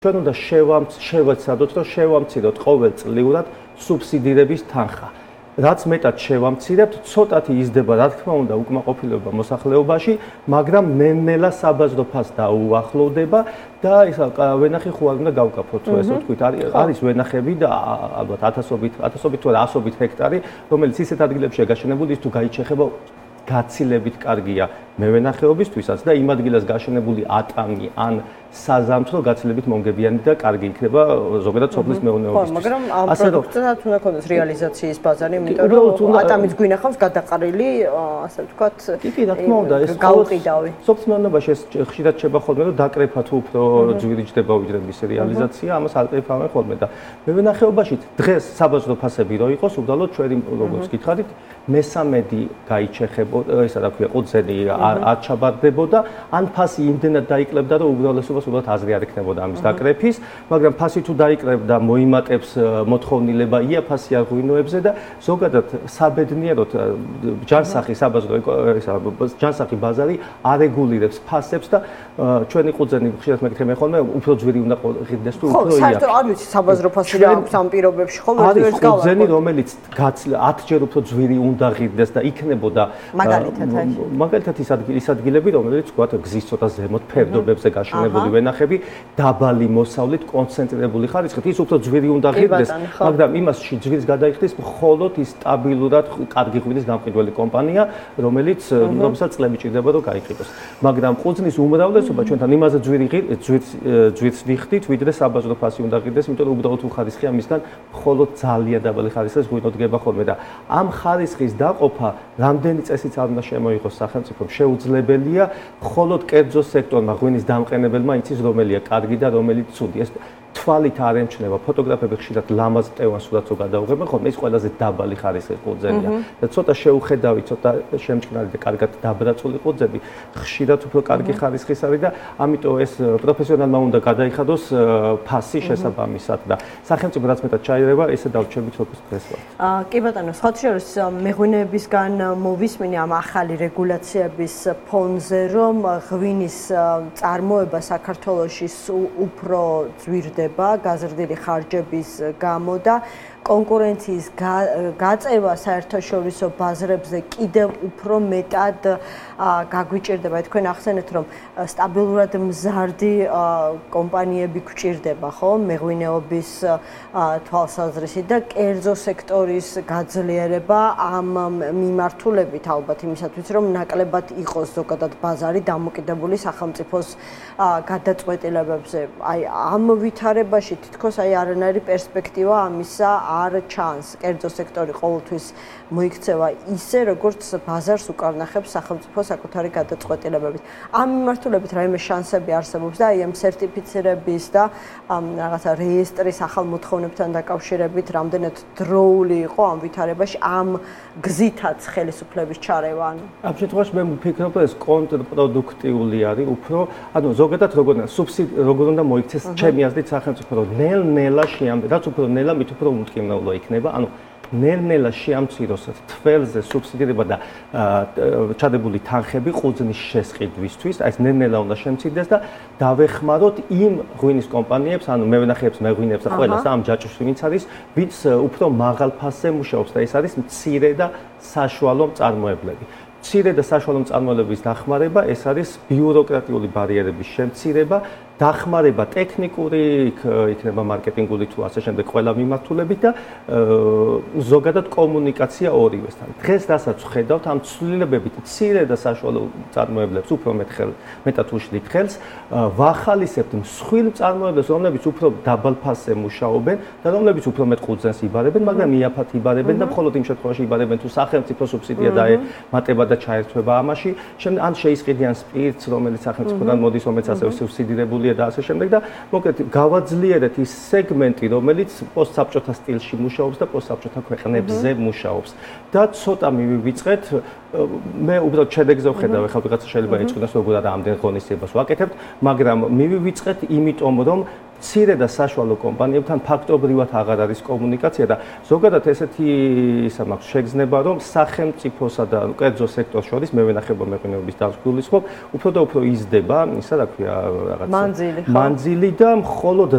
ჩვენ უნდა შევეცადოთ, რომ შევამციროთ ყოველწლიურად სუბსიდირების თანხა. რაც მეტად შევამცირებთ, ცოტათი იზრდება, რა თქმა უნდა, უკმაყოფილება მოსახლეობაში, მაგრამ ნელ-ნელა საბაზრო ფასს დაუახლოვდება და ისა ვენახი ხო არ უნდა გავკაფოთ, ესე ვთქვით, არის ვენახები და ალბათ ათასობით თუ ასობით ჰექტარი, რომელიც ისეთ ადგილებშია გაშენებული, ის თუ გაიჩეხება გაცილებით კარგია მევენახეობისთვისაც და იმ ადგილას გაშენებული ატამი ან საზამთრო გაცილებით მომგებიანი და კარგი იქნება ზოგადად სოფლის მეურნეობისთვის. მაგრამ ამ პროდუქტსაც უნდა ქონდეს რეალიზაციის ბაზარი, იმიტომ რომ ატამის გვინახავს გადაყარილი, ასე ვთქვათ, კი, რა თქმა უნდა, ეს გაუყიდავი. სოფლის მეურნეობაში ეს ხშირად შეება ხოლმე, რომ დაკრეფა თუ უფრო ძვირი ჯდება ვიდრე მისი რეალიზაცია, ამას აკრეფავენ ხოლმე და მევენახეობაში დღეს საბაზრო ფასები რო იყოს, უბრალოდ ჩვენი როგორც გითხარით, მესამედი გაიჩეხებოდა, ისა რა ქვია, ყურძენი არ ჩაბარდებოდა, ან ფასი იმდენად დაიკლებდა, რომ უბრალესობას უბრალოდ აზრი არ ექნებოდა ამის დაკრეფის, მაგრამ ფასი თუ დაიკრებდა, მოიმატებს მოთხოვნილება იაფასი აღვინოებზე და ზოგადად საბედნიეროდ ჯანსაღი საბაზრო ჯანსაღი ბაზარი არეგულირებს ფასებს და ჩვენი ყურძენი ხშირად მეკითხები ხოლმე, უფრო ძვირი უნდა ღირდეს თუ უფრო იაფი. საერთოდ არ ვიცი საბაზრო ფასი რა აქვს ამ პირობებში, ხო? არის ყურძენი, რომელიც 10ჯერ უფრო ძვირი უნდა ღირდეს და იქნებოდა მაგალითად ის ადგილები, რომელიც თქვათ გზის ცოტა ზემოთ ფერდობებზე გაშენებული ვენახები, დაბალი მოსავლით კონცენტრირებული ხარისხით, ის უფრო ძვირი უნდა ღირდეს, მაგრამ იმასში ძვირს გადაიხდის მხოლოდ ის სტაბილურად კარგი ღვინის გამყიდველი კომპანია, რომელსაც წლები ჭირდება რომ გაიყიდოს. მაგრამ ყურძნის უმრავლესობა ჩვენთან იმაზე ძვირს ვიხდით, ვიდრე საბაზრო ფასი უნდა ღირდეს, იმიტომ რომ უბრალოდ უხარისხია მისგან მხოლოდ ძალიან დაბალი ხარისხის ღვინო დგება ხოლმე და ამ ხარისხის დაყოფა რამდენი წესიც არ უნდა შემოიღოს სახელმწიფომ შეუძლებელია, მხოლოდ კერძო სექტორმა ღვინის დამყენებელმა იცის რომელია კარგი და რომელიც ცუდი. ეს თვალით არ ემჩნევა, ფოტოგრაფები ხშირად ლამაზ მტევან სურათს გადაუღებენ, ხოლმე ის ყველაზე დაბალი ხარისხის ყურძენია და ცოტა შეუხედავი, ცოტა შემჭკნარი და კარგად დაბრაწული ყურძენი ხშირად უფრო კარგი ხარისხის არის და ამიტომ ეს პროფესიონალმა უნდა გადაიხადოს ფასი შესაბამისად და სახელმწიფო რაც მეტად ჩაირება, ესე დავრჩებით როგორც დღეს ვართ. კი ბატონო, სხვა შორის მეღვინეებისგან მოვისმინე ამ ახალი რეგულაციების ფონზე, რომ ღვინის წარმოება საქართველოში უფრო ძვირდება გაზრდილი ხარჯების გამო და კონკურენციის გაწევა საერთაშორისო ბაზრებზე კიდევ უფრო მეტად გაგვიჭირდება. თქვენ ახსენეთ, რომ სტაბილურად მზარდი კომპანიები გვჭირდება, ხო, მეღვინეობის თვალსაზრისით და კერძო სექტორის გაძლიერება ამ მიმართულებით ალბათ იმისათვის, რომ ნაკლებად იყოს ზოგადად ბაზარი დამოკიდებული სახელმწიფოს გადაწყვეტილებებზე. აი ამ ვითარებაში თითქოს არანაირი პერსპექტივა ამისა არ ჩანს. კერძო სექტორი ყოველთვის მოიქცევა ისე, როგორც ბაზარს უკარნახებს სახელმწიფო საკუთარი გადაწყვეტილებებით. ამ მიმართულებით რაიმე შანსები არსებობს და აი ამ სერტიფიცირების და რაღაცა რეესტრის ახალ მოთხოვნებთან დაკავშირებით რამდენად დროული იყო ამ ვითარებაში ამ გზითაც ხელისუფლების ჩარევა? ამ შემთხვევაში მე ვფიქრობ, ეს კონტრპროდუქტიული არის უფრო, ანუ ზოგადად როგორ უნდა მოიქცეს ჩემი აზრით სახელმწიფო, რომ ნელ-ნელა რაც უფრო ნელა, მით უფრო უმტკივნეულო იქნება, ანუ ნელ-ნელა შეამციროს თველზე სუბსიდირება და ჩადებული თანხები ყურძნის შესყიდვისთვის, აი ეს ნელ-ნელა უნდა შემცირდეს და დავეხმაროთ იმ ღვინის კომპანიებს, ანუ მევენახეებს, მეღვინეებს და ყველას ამ ჯაჭვს ვინც არის, ვინც უფრო მაღალ ფასზე მუშაობს და ეს არის მცირე და საშუალო მწარმოებლები. მცირე და საშუალო მწარმოებლების დახმარება, ეს არის ბიუროკრატიული ბარიერების შემცირება, დახმარება ტექნიკური, იქნება მარკეტინგული თუ ასე შემდეგ ყველა მიმართულებით და ზოგადად კომუნიკაცია ორივესთან. დღეს რასაც ვხედავთ, ამ ცვლილებებით მცირე და საშუალო მწარმოებლებს უფრო მეტად უშლით ხელს, ვახალისებთ მსხვილ მწარმოებლებს, რომლებიც უფრო დაბალ ფასზე მუშაობენ და რომლებიც უფრო მეტ ყურძენს იბარებენ, მაგრამ იაფად იბარებენ და მხოლოდ იმ შემთხვევაში იბარებენ, თუ სახელმწიფო სუბსიდია დაემატება და ჩაერთვება ამაში, ან შეისყიდიან სპირტს, რომელიც სახელმწიფოდან მოდის, რომელიც ასევე სუბსიდირებულია და ასე შემდეგ და მოკლედ გავაძლიერეთ ის სეგმენტი, რომელიც პოსტსაბჭოთა სტილში მუშაობს და პოსტსაბჭოთა ქვეყნებზე მუშაობს და ცოტა მივივიწყეთ. მე უბრალოდ შედეგზე ვხედავ, ეხლა ვიღაცა შეიძლება ეჭვდას, როგორ არა ამდენ ღონისძიებას ვაკეთებთ, მაგრამ მივივიწყეთ, იმიტომ რომ მცირე და საშუალო კომპანიებთან ფაქტობრივად აღარ არის კომუნიკაცია და ზოგადად ესეთი ისა მაქვს შეგრძნება, რომ სახელმწიფოსა და კერძო სექტორს შორის მე ვენახება მეღვინეობის დარგს გულისხმობ, უფრო და უფრო იზრდება, ისა რა ქვია, რაღაც მანძილი და მხოლოდ